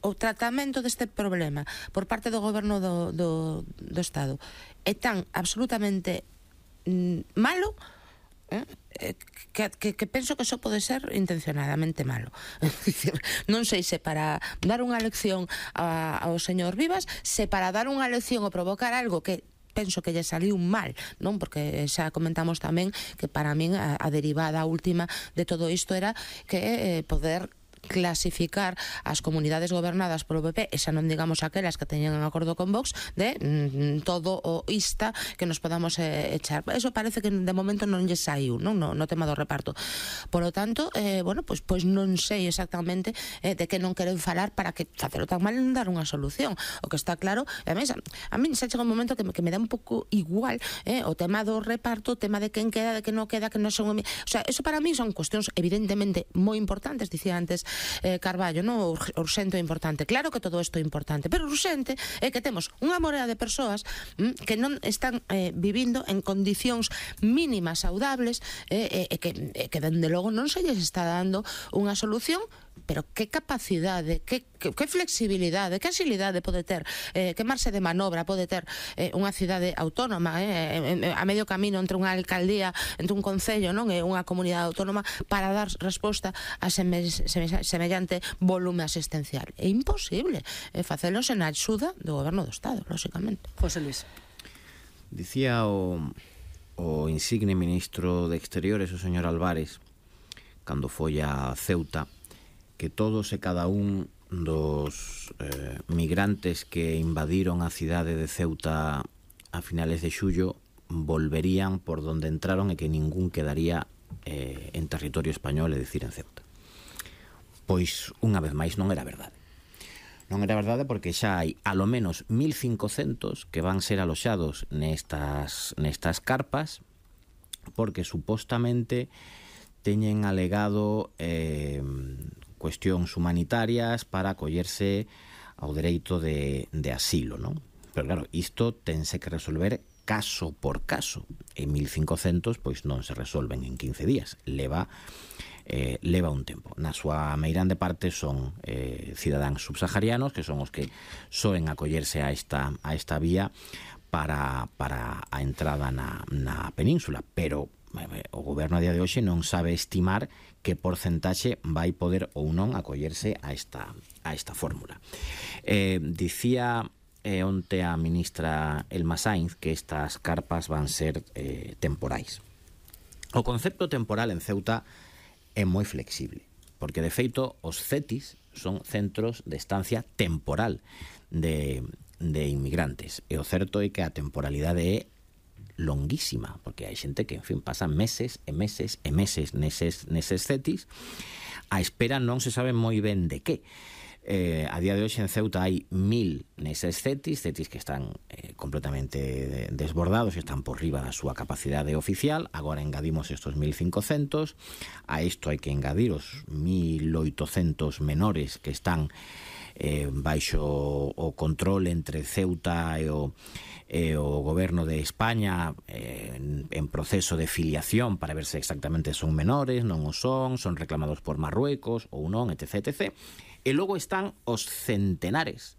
o tratamento deste problema por parte do goberno do Estado é tan absolutamente malo, que penso que só pode ser intencionadamente malo. Non sei se para dar unha lección ao señor Vivas, se para dar unha lección ou provocar algo que penso que lle saliu mal, non? Porque xa comentamos tamén que para min a derivada última de todo isto era que poder clasificar as comunidades gobernadas polo PP, e xa non digamos aquelas que teñen un acordo con Vox, de todo o ista que nos podamos echar. Eso parece que de momento non lle saiu, non? No tema do reparto. Por lo tanto, bueno, pois non sei exactamente de que non queren falar para que facelo tan mal non dar unha solución. O que está claro, a mí xa chega un momento que me dá un pouco igual o tema do reparto, o tema de quen queda, de que non queda, que non son... O sea, eso para mí son cuestións evidentemente moi importantes, dicía antes Carballo, non? Urxente e importante. Claro que todo isto é importante, pero urxente é que temos unha morea de persoas que non están vivindo en condicións mínimas saudables e que dende logo non se lles está dando unha solución. Pero que capacidade, que flexibilidade, que agilidade pode ter, que marxe de manobra pode ter unha cidade autónoma a medio camino entre unha alcaldía, entre un concello, non, e unha comunidade autónoma para dar resposta a semellante volume asistencial. É imposible facelo sen a axuda do goberno do Estado, lóxicamente. José Luis. Dicía o insigne ministro de Exteriores, o señor Álvarez, cando foi a Ceuta, que todos e cada un dos migrantes que invadiron a cidade de Ceuta a finales de xullo volverían por donde entraron e que ningún quedaría en territorio español, é dicir, en Ceuta. Pois, unha vez máis, non era verdade. Non era verdade porque xa hai alo menos 1.500 que van ser aloxados nestas carpas, porque supostamente teñen alegado cuestións humanitarias para acollerse ao dereito de asilo, non? Pero claro, isto tense que resolver caso por caso, e 1.500 pois non se resolven en 15 días, leva un tempo. Na súa meirande parte son cidadáns subsaharianos, que son os que soen acollerse a esta vía para a entrada na península, pero o goberno a día de hoxe non sabe estimar que porcentaxe vai poder ou non acollerse a esta fórmula. Dicía onte a ministra Elma Sainz que estas carpas van ser temporais. O concepto temporal en Ceuta é moi flexible, porque de feito os CETIs son centros de estancia temporal de inmigrantes, e o certo é que a temporalidade é longuísima, porque hai xente que, en fin, pasan meses e meses e meses neses CETIs a espera non se sabe moi ben de que. A día de hoxe en Ceuta hai 1.000 neses CETIs que están completamente desbordados e están por riba da súa capacidade oficial. Agora engadimos estos 1.500, a isto hai que engadir os 1.800 menores que están baixo o control entre Ceuta e o goberno de España en proceso de filiación para ver se exactamente son menores, non o son reclamados por Marruecos ou non, etc. E logo están os centenares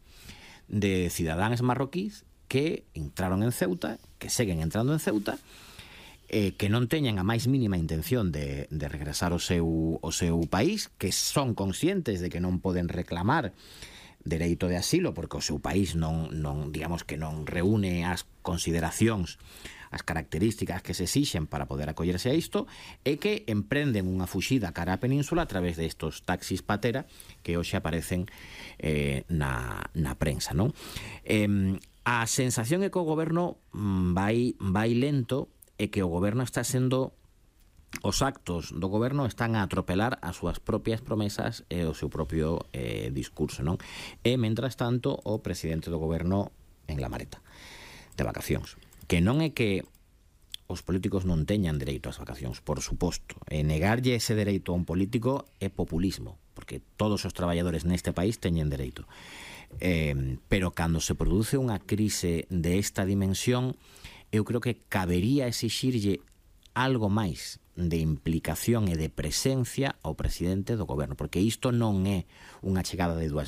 de cidadáns marroquíes que entraron en Ceuta, que seguen entrando en Ceuta, que non teñen a máis mínima intención de regresar ao seu país, que son conscientes de que non poden reclamar dereito de asilo porque o seu país non digamos que non reúne as consideracións, as características que se exixen para poder acollerse a isto, e que emprenden unha fuxida cara á península a través destos taxis patera que hoxe aparecen na prensa, non? A sensación é que o goberno vai lento e que o goberno está sendo... Os actos do goberno están a atropelar as súas propias promesas e o seu propio discurso, non? E, mentras tanto, o presidente do goberno en la maleta de vacacións. Que non é que os políticos non teñan dereito ás vacacións, por suposto. E negarlle ese dereito a un político é populismo, porque todos os traballadores neste país teñen dereito. Pero cando se produce unha crise de esta dimensión, eu creo que cabería exixirlle algo máis de implicación e de presencia ao presidente do goberno, porque isto non é unha chegada de